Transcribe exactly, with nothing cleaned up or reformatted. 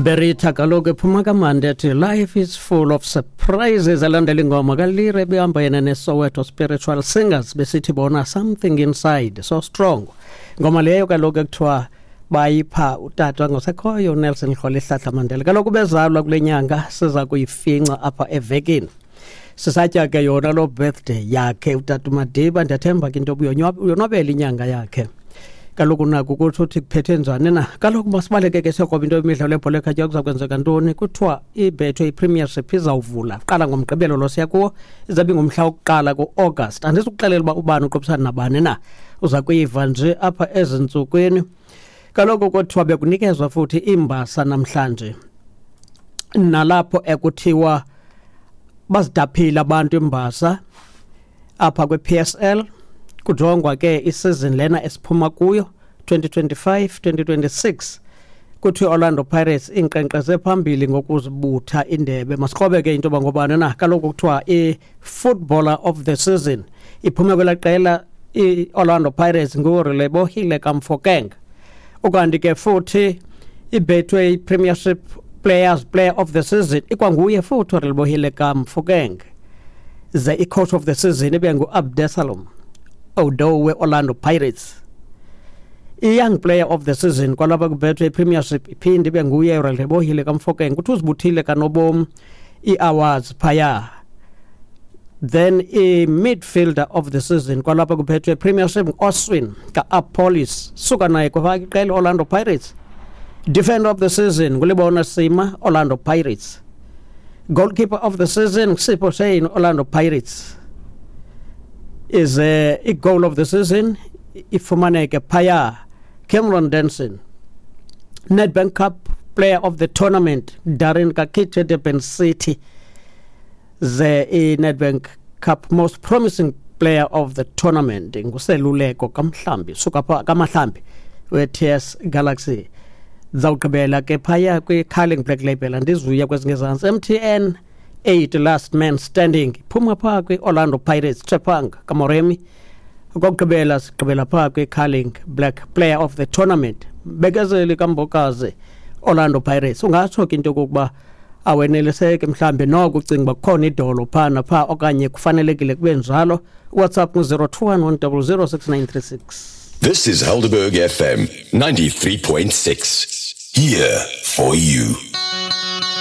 Berita kaloku ephuma kamandi ethi "Life is full of surprises", elandela ingoma kaLira ebihamba yena neSoweto Spiritual Singers, besithi bona "Something Inside So Strong". Ngoma leyo kaloku ekuthiwa bayipha utata ngosekhoyo uNelson Rholihlahla Mandela. Kaloku bezalwa kule nyanga siza kuyifinca apha evekini, sisatya ke yona loo birthday yakhe utata uMadiba. Ndiyathemba ke into yoba uyonwabela inyanga yakhe. Kaloku naku kutsho uthi kuphethe njani na. Kaloku masibaleke ke siyokroba into yemidlalo yebhola ekhatywayo. Kuza kwenzeka ntoni? Kuthiwa iBetway iPremiership izawuvula qala ngoMgqibelo lo siya kuwo, izabe ingumhla wokuqala ku-August. Andizukuxelela uba ubani uqophisana nabani na, uza kuyiva nje apha ezintsukwini. Kaloku kuthiwa bekunikezwa futhi iimbasa namhlanje, nalapho ekuthiwa bazidaphile abantu imbasa apha kwi-P S L, kujongwa ke isizini lena esiphuma kuyo, twenty twenty-five twenty twenty-six. Kuthiwa Orlando Pirates inkqenkqeze phambili ngokuzibutha indebe. Masikrobe ke into yoba ngobani na. Kaloku kuthiwa i-footballer of the season iphume kwelaa qela i-Orlando Pirates, nguRelebohile kaMofokeng. Ukanti ke futhi iBetway Premiership Players Player of the Season ikwanguye futhi uRelebohile kaMofokeng, ze i-coach of the season ibe ngu-Abdesalom Ouaddou we-Orlando Pirates. I-young player of the season kwalapha kuBetway Premiership iphinde ibe nguye uRelebohile kaMofokeng. Kuthi uzibuthile kanobom ii-awards phaya. Then i-midfielder of the season kwalapha kuBetway Premiership, Oswin ka-Appollis, suka naye kwafaka iqela Orlando Pirates. Defender of the season nguLebona Sima, Orlando Pirates. Goalkeeper of the season, Sipho Shane, Orlando Pirates. Is uh, i-goal of the season ifumaneke phaya, Cameron Denson. Nedbank Cup player of the tournament, Darren Kakiche, Durban City. Ze i-Nedbank Cup most promising player of the tournament nguSeluleko Kamhlambi, suka pha Kamahlambi we-T S Galaxy. Zawugqibela ke phaya kwi-Carling Black Label, andizuya kwezingezantsi. M T N eight last man standing phuma phaa kwi-Orlando Pirates, Tshepang Kamoremi. Okokugqibela sigqibela phaa kwi-Carling Black player of the tournament, Bekezeli kaMbokazi, Orlando Pirates. Ungatsho ke into yokokuba aweneliseke mhlawumbi noko ucinga uba kukhona idolo phaa naphaa okanye kufanelekile kube njalo. WhatsApp ngu-zero two one one zero zero six nine three six. This is Helderberg F M ninety-three point six. Here for you.